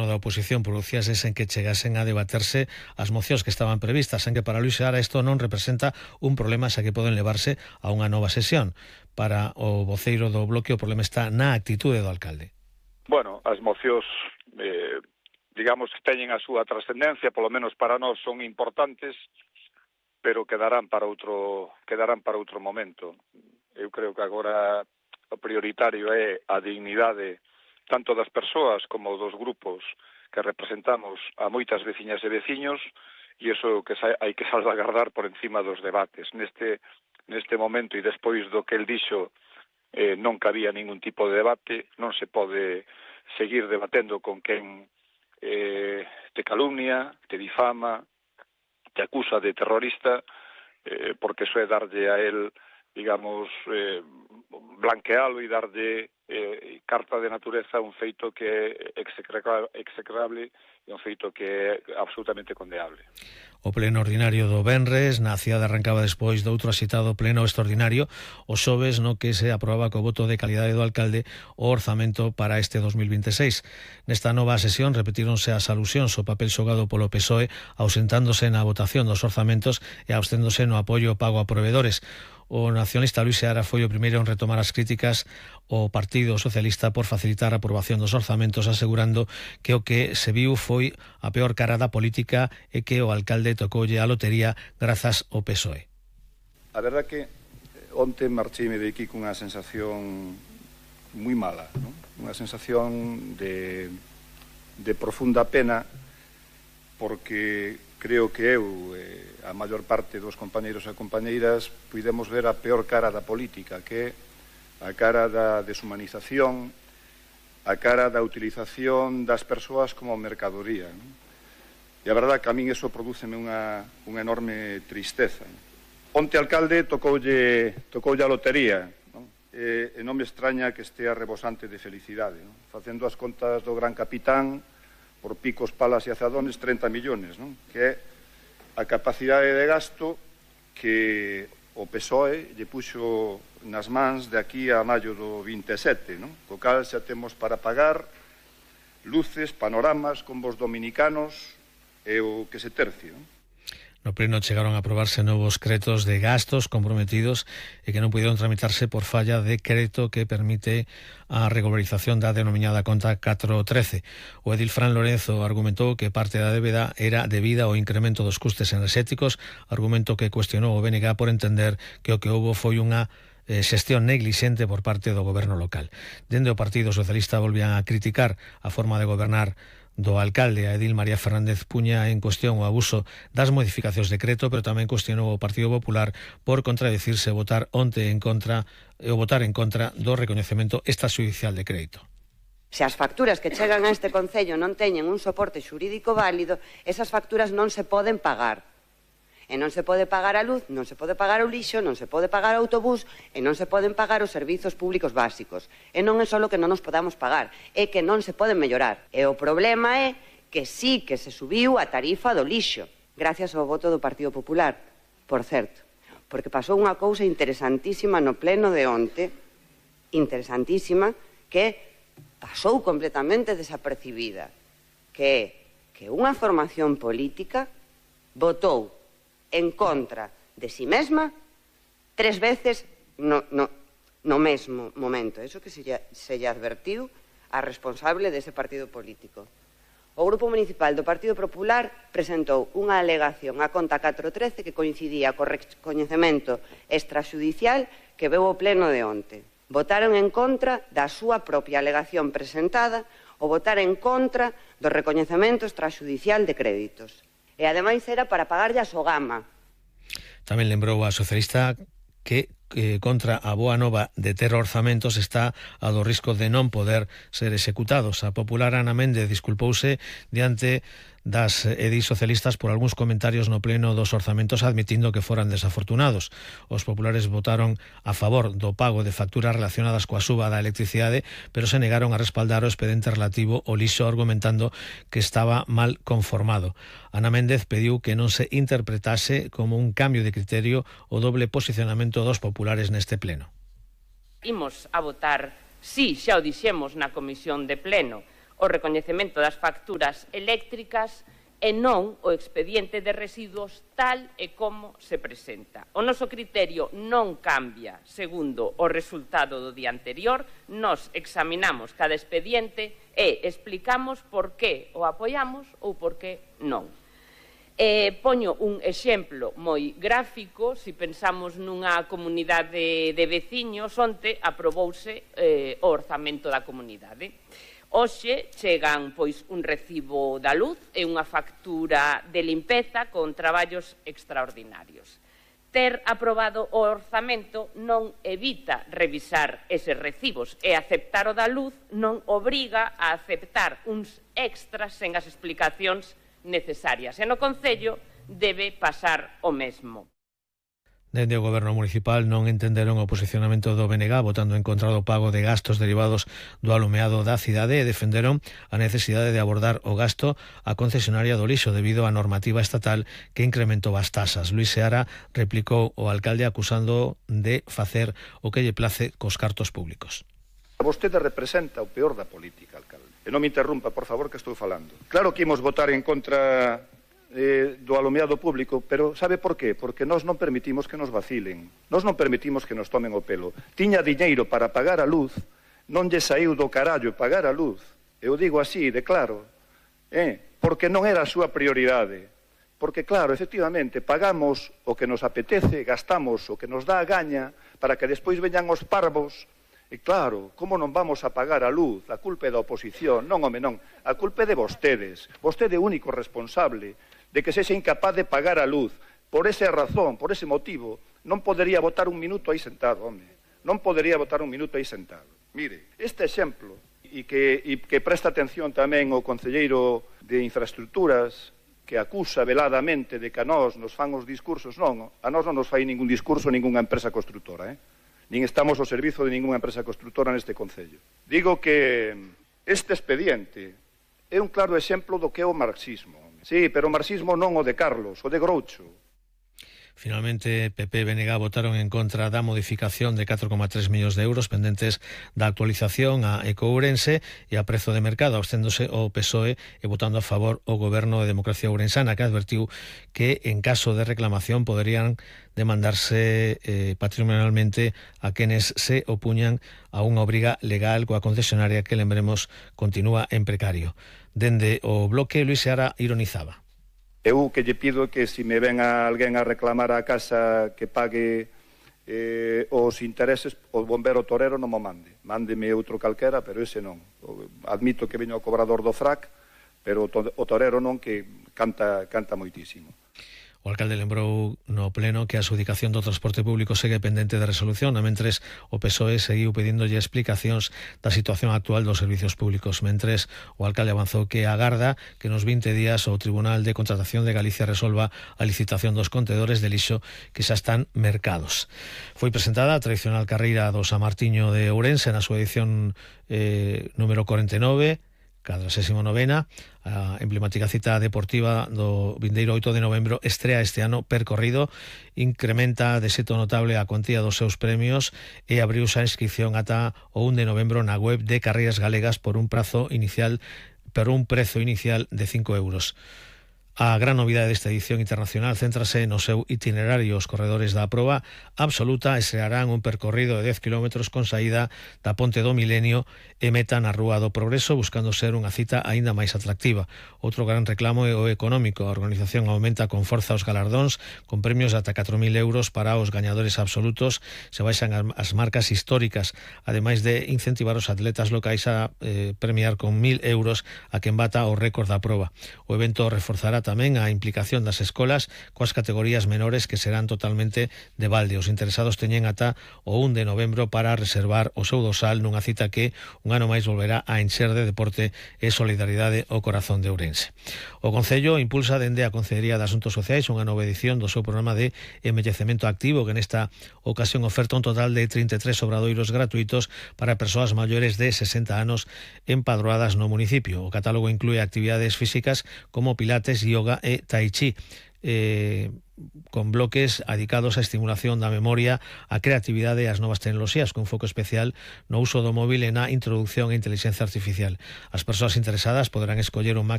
da oposición producíase sen que chegasen a debaterse as mocións que estaban previstas, en que para Luís Seara isto non representa un problema xa que poden levarse a unha nova sesión. Para o voceiro do Bloque o problema está na actitude do alcalde. Bueno, as mocións, digamos que teñen a súa trascendencia, polo menos para nós son importantes, pero quedarán para outro momento. Eu creo que agora o prioritario é a dignidade tanto das persoas como dos grupos que representamos a moitas veciñas e veciños, e iso que hai que salvaguardar por encima dos debates. Neste momento e despois do que el dixo, non cabía ningún tipo de debate, non se pode seguir debatendo con quen te calumnia, te difama, te acusa de terrorista, porque iso é darlle a él, digamos, blanquealo e darlle carta de natureza un feito que é execrable e un feito que é absolutamente condenable. O pleno ordinario do venres na cidade arrancaba despois do outro asitado pleno extraordinario o xoves no que se aprobaba co voto de calidade do alcalde o orzamento para este 2026. Nesta nova sesión repetíronse as alusións ao papel xogado polo PSOE ausentándose na votación dos orzamentos e absténdose no apoio ao pago a provedores. O nacionalista Luís Seara foi o primeiro en retomar as críticas ao Partido Socialista por facilitar a aprobación dos orzamentos, asegurando que o que se viu foi a peor cara da política e que o alcalde tocoulle a lotería grazas ao PSOE. A verdad que onte marcheime de aquí cunha sensación moi mala, ¿no? Unha sensación de profunda pena, porque creo que eu a maior parte dos compañeiros e compañeiras puidemos ver a peor cara da política, que é a cara da deshumanización, a cara da utilización das persoas como mercadoría, ¿no? E a verdade que a min eso prodúceme unha enorme tristeza. Onte alcalde tocoulle a lotería, ¿no? E non me extraña que estea rebosante de felicidade, ¿no? Facendo as contas do gran capitán, por picos, palas e azadones, 30 millóns, ¿no? Que é a capacidade de gasto que o PSOE lle puxo nas mans de aquí a maio do 27, ¿no? Co cal xa temos para pagar luces, panoramas, combos dominicanos e o que se tercio, ¿no? No pleno chegaron a aprobarse novos cretos de gastos comprometidos e que non puderon tramitarse por falla de creto que permite a regularización da denominada conta 413. O edil Fran Lorenzo argumentou que parte da débeda era debida ao incremento dos custes enerxéticos, argumento que cuestionou o BNG por entender que o que houbo foi unha xestión neglixente por parte do goberno local. Dende o Partido Socialista volvían a criticar a forma de gobernar do alcalde. A edil María Fernández puña en cuestión o abuso das modificacións de decreto, pero tamén cuestionou o Partido Popular por contradicirse e votar en contra do recoñecemento extrajudicial de crédito. Se as facturas que chegan a este Concello non teñen un soporte xurídico válido, esas facturas non se poden pagar. E non se pode pagar a luz, non se pode pagar o lixo, non se pode pagar o autobús e non se poden pagar os servizos públicos básicos. E non é só que non nos podamos pagar, é que non se poden mellorar. E o problema é que sí que se subiu a tarifa do lixo, gracias ao voto do Partido Popular, por certo. Porque pasou unha cousa interesantísima no pleno de onte, interesantísima, que pasou completamente desapercibida, que é que unha formación política votou en contra de si mesma 3 veces no mesmo momento. Eso que se lle advertiu a responsable dese partido político. O Grupo Municipal do Partido Popular presentou unha alegación á conta 413 que coincidía co recoñecemento extrajudicial que veu o pleno de onte. Votaron en contra da súa propia alegación presentada ou votar en contra do recoñecemento extrajudicial de créditos. E ademais era para pagarlle a Sogama. Tamén lembrou a socialista que contra a boa nova de ter orzamentos está a do risco de non poder ser executados. A popular Ana Méndez disculpouse diante das edis socialistas por algúns comentarios no pleno dos orzamentos admitindo que foran desafortunados. Os populares votaron a favor do pago de facturas relacionadas coa suba da electricidade, pero se negaron a respaldar o expediente relativo ao lixo argumentando que estaba mal conformado. Ana Méndez pediu que non se interpretase como un cambio de criterio o doble posicionamento dos populares neste pleno. Imos a votar, si xa o dixemos na comisión de pleno, o recoñecemento das facturas eléctricas e non o expediente de residuos tal e como se presenta. O noso criterio non cambia segundo o resultado do día anterior. Nos examinamos cada expediente e explicamos por que o apoiamos ou por que non. Poño un exemplo moi gráfico. Se pensamos nunha comunidade de veciños, onte aprobouse o orzamento da comunidade. Hoxe chegan un recibo da luz e unha factura de limpeza con traballos extraordinarios. Ter aprobado o orzamento non evita revisar eses recibos, e aceptar o da luz non obriga a aceptar uns extras sen as explicacións necesarias. E no Concello debe pasar o mesmo. Dende o Goberno Municipal non entenderon o posicionamento do BNG votando en contra do pago de gastos derivados do alumeado da cidade e defenderon a necesidade de abordar o gasto á concesionaria do lixo debido á normativa estatal que incrementou as tasas. Luís Seara replicou o alcalde acusando de facer o que lle place cos cartos públicos. Vostede representa o peor da política, alcalde. E non me interrumpa, por favor, que estou falando. Claro que imos votar en contra do alumeado público, pero sabe por qué? Porque nós non permitimos que nos vacilen, nós non permitimos que nos tomen o pelo. Tiña diñeiro para pagar a luz, non lle saiu do carallo pagar a luz, eu digo así, de claro, porque non era a súa prioridade. Porque, claro, efectivamente, pagamos o que nos apetece, gastamos o que nos dá a gaña, para que despois veñan os parvos. E claro, como non vamos a pagar a luz? A culpa é da oposición. Non, home, non. A culpa é de vostedes. Vostede é o único responsable de que sexa incapaz de pagar a luz. Por esa razón, por ese motivo, non podería votar un minuto aí sentado, home. Non podería votar un minuto aí sentado. Mire, este exemplo, e que presta atención tamén o concelleiro de Infraestructuras, que acusa veladamente de que a nós nos fan os discursos, non, a nós non nos fai ningún discurso ningunha empresa constructora, nin estamos ao servizo de ningunha empresa constructora neste concello. Digo que este expediente é un claro exemplo do que é o marxismo. Sí, pero o marxismo non o de Carlos, o de Groucho. Finalmente, PP e BNG votaron en contra da modificación de 4,3 millóns de euros pendentes da actualización a Ecoourense e a prezo de mercado, absténdose o PSOE e votando a favor o Goberno de Democracia Ourensana, que advertiu que en caso de reclamación poderían demandarse patrimonialmente a quenes se opuñan a unha obriga legal coa concesionaria que, lembremos, continúa en precario. Dende o bloque, Luís Seara ironizaba. Eu que lle pido que se me ven a alguén a reclamar a casa que pague os intereses, o bombero torero non mo mande. Mándeme outro calquera, pero ese non. Admito que veño ao cobrador do frac, pero o torero non, que canta moitísimo. O alcalde lembrou no pleno que a adxudicación do transporte público segue pendente de resolución, a mentres o PSOE seguiu pedíndolle explicacións da situación actual dos servicios públicos. Mentres o alcalde avanzou que agarda que nos 20 días o Tribunal de Contratación de Galicia resolva a licitación dos contedores de lixo que xa están mercados. Foi presentada a tradicional carreira do San Martiño de Ourense na súa edición número 49, 49ª, a emblemática cita deportiva do vindeiro 8 de novembro estrea este ano percorrido, incrementa de xeito notable a cuantía dos seus premios e abriuse a inscripción ata o 1 de novembro na web de Carreiras Galegas por un prezo inicial de 5 euros. A gran novidade desta edición internacional céntrase no seu itinerario. Os corredores da proba absoluta estrearán un percorrido de 10 km con saída da Ponte do Milenio e meta na Rúa do Progreso, buscando ser unha cita aínda máis atractiva. Outro gran reclamo é o económico. A organización aumenta con forza os galardóns, con premios de ata 4.000 euros para os gañadores absolutos. Se baixan as marcas históricas, ademais de incentivar os atletas locais a premiar con 1.000 euros a quen bata o récord da proba. O evento reforzará tamén a implicación das escolas coas categorías menores, que serán totalmente de balde. Os interesados teñen ata o 1 de novembro para reservar o seu dosal nunha cita que un ano máis volverá a encher de deporte e solidaridade o corazón de Ourense. O Concello impulsa dende a Concellería de Asuntos Sociais unha nova edición do seu programa de envellecemento activo, que nesta ocasión oferta un total de 33 obradoiros gratuitos para persoas maiores de 60 anos empadroadas no municipio. O catálogo inclúe actividades físicas como pilates, yoga e tai chi. con bloques dedicados á estimulación da memoria, a creatividade e as novas tecnoloxías, con foco especial no uso do móvil e na introducción a inteligencia artificial. As persoas interesadas poderán escoller o máximo